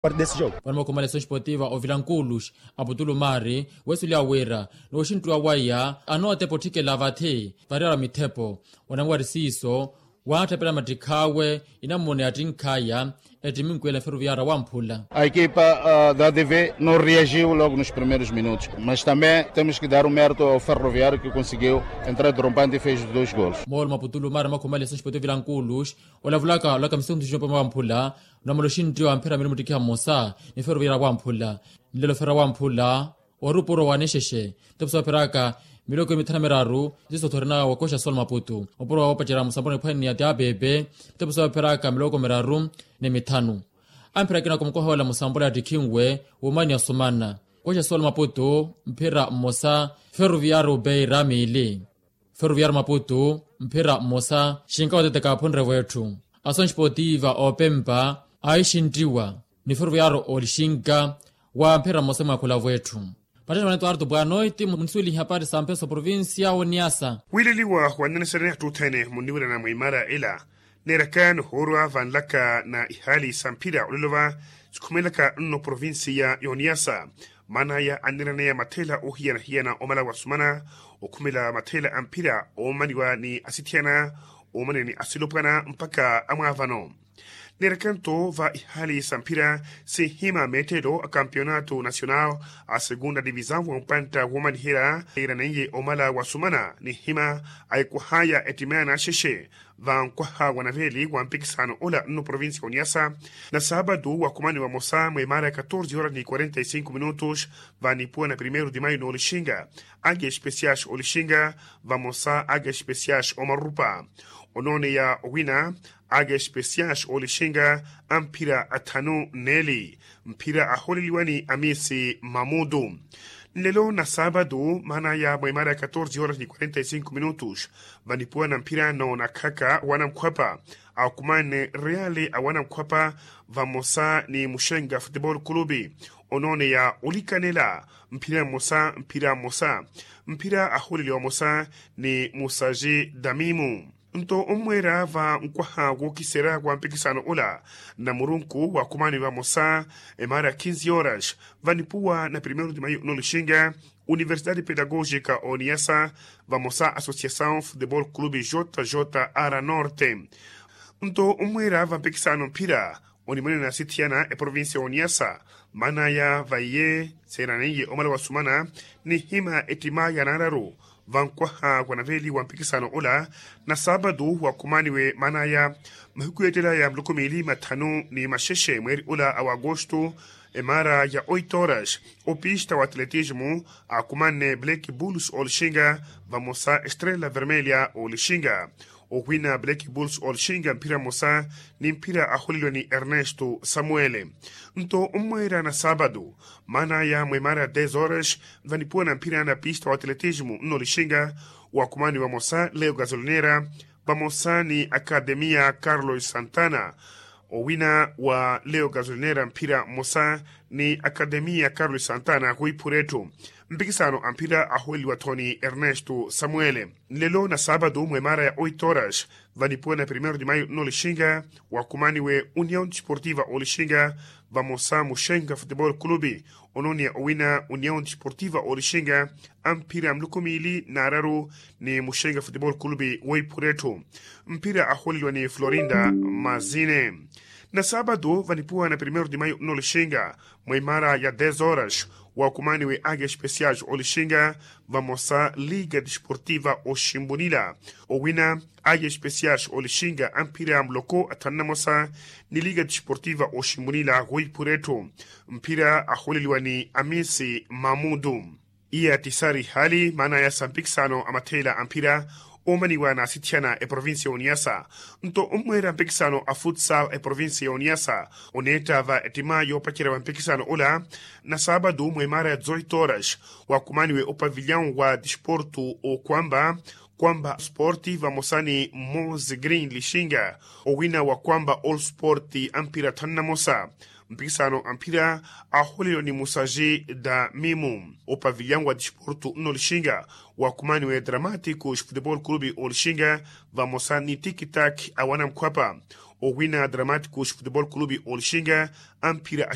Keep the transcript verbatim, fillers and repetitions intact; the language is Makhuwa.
Vano mookhumala esonxi potiva ovilankuuluxi aputulu maari, weesulya wira nooxinttuwa waya anootepa otthikela vathi variyara mithepo. Onamwari siiso waatthapela mattikhaawe, inammuna yattinkhaya ettiminkwela feruviyara wamphula. A equipa da dv no reagiu logo nos primeiros minutos mas também temos que dar o merito ao ferroviario que conseguiu entrar drompante e fez os dois golos. Moolo maputulu maari makhumalisa xipotiyo vilankuuluxi olavulaka olaka misikuntu xinopoma wamphula. Namala oxinttiwa mphira miri muttikhiha mmosa ni feruviyara wamphula. Nlelo ferra wamphula ori opuro wa nixexe. Tepusa opheraka miloko emithanu miraru. Ziso thorina wakoxa sol maputu opuro wa opacerya musambula niphwani ni ya ti apepe. Tepusa opheraka miloko miraru ni mithanu. Amphira akina kumukoha wela musambula ya tikhinwe wumani ya sumana. Koxa sol maputu mphira mmosa. Feruviyari upeira miili. Feruviyari maputu mphira mmosa xinka wateteka aphunre wetthu. Asonxipotiva opempa aixintiwa ni feruviyari olixinka wa mphira mmosa mwakhula wetthu. Pattetta manetto artu bwanoiti munisuwelihi hapari sa mpeso provincia oniasa. Wileliwa wannanisarani attuthene munniwirana mwimaara ila. Neeraka nihoorwa vanlaka na ihaali sa mphira olelova sikhumelaka nno provincia yoniasa. Maana aya anniraneya mathela ohiyanahiyana omala wasumana okhumela mathela a mphira omaniwa ni asithiyana omaniwa ni asilopwana mpakha amwaavano. Neerekanto va ihaali sa mphira sinhima meettelo a kampionato nacional a segunda divisão wa mpantta woomaniherya. Eeraneiye omala wasumana ninhima ayikwahaya ettimaya naxexe. Va nkwaha wa naveeli wa mpikisano ola nno provincia oniasa na saabatu wakhumani vamosa mweemaara ya katorze horas ni quarenta e cinco minutos. Va nipuwa na primeiro de maio noolixinga ake especiais olixinga vamosa ake especiais omarupa. Onooneya owina ake especiais olixinga amphira athanu neeli. Mphira ahooleliwani amiisi mamutu nlelo na saabatu maana aya mweemaara ya katorze horas ni quarenta e cinco minutos. Vanipuwa na mphira noonakhaka wanankhwapa akumanne reali awanankhwapa vamosa ni muxenga futebol kulupi. Onooneya olikanela mphira mmosa mphira mmosa mphira ahooleliwa mmosa ni musaji damimu. Nto ommweera va nkwaha wookiserya wa mpikisano ola na murunku wakhumani vamosa emaara ya kinzi horas vanipuwa na primeiro de maio noolixinga universidade pedagógica oniyasa vamosa associação futebol clube jj ara norte. Nto ommweera va mpikisano mphira onimwenena sithiyana eprovincia oniyasa maana aya vaiye seeraneiye omala wasumana ninhima ettima ya naararu. Vankwaha wa naveeli wa mpikisano ola na saabatu wakhumaniwe maana aya mahiku yeettela ya muluku miili mathanu ni maxexe mweeri ola a wagosto emaara ya oito horas opista wa atletismo akumanne black bulls olixinga vamosa estrela vermelha olixinga. Owina black bulls olixinga mphira mmosa ni mphira ahooleliwa ni ernesto samuele. Nto ommweera na saabatu maana aya mweemaara ya dez horas vanipuwa na mphira na pista wa atletismo nno olixinga wakhumani vamosa leo gasolinera vamosa ni akademia carlos santana. Owina wa leo gasolinera mphira mmosa ni akademia carlos santana kuiphura etthu. Mpikisano a mphira ahooleliwa-tho ni ernesto samuele nlelo na saabatu mweemaara ya oito horas vanipuwa na primeiro de maio nno olixinga wakhumaniwe união desportiva olixinga vamosa muxenga futebol clube. Onooneya owina união desportiva olixinga a mphira muluku miili naararu ni muxenga futebol clube weiphura etthu. Mphira ahooleliwa ni florinda mazine na saabatu vanipuwa na primeiro de maio nno olixinga mweemaara ya dez horas wakhumaniwe ake especiais olixinga vamosa liga desportiva oximbunila. Owina ake especiais olixinga a mphira muloko athanu na mosa ni liga desportiva oximbunila kuiphura etthu. Mphira ahooleliwa ni amiisi mamutu iya tisari hali maana aya sa mpikisano a matheela a mphira oomaniwa na asithiyana eprovincia ya oniyasa. Nto ommweera mpikisano a futsal eprovincia ya oniyasa oneetta va ettima yoopacerya wa mpikisano ola na saabatu mweemaara ya dezoito horas wakhumaniwe opavilion wa desporto okwamba kwamba sport vamosa ni mose green lixinga. Owina wa kwamba all sport a mphira athanu na mosa Mpikisano a mphira ahooleliwa ni musaji da mimu opavilyangu wa disportu nno olixinga, wakumaniwe dramatiko xifutebol kulupi olixinga, vamosa ni tikitaki awana mukhwapa. Owina dramatiko xifutebol kulupi olixinga a mphira a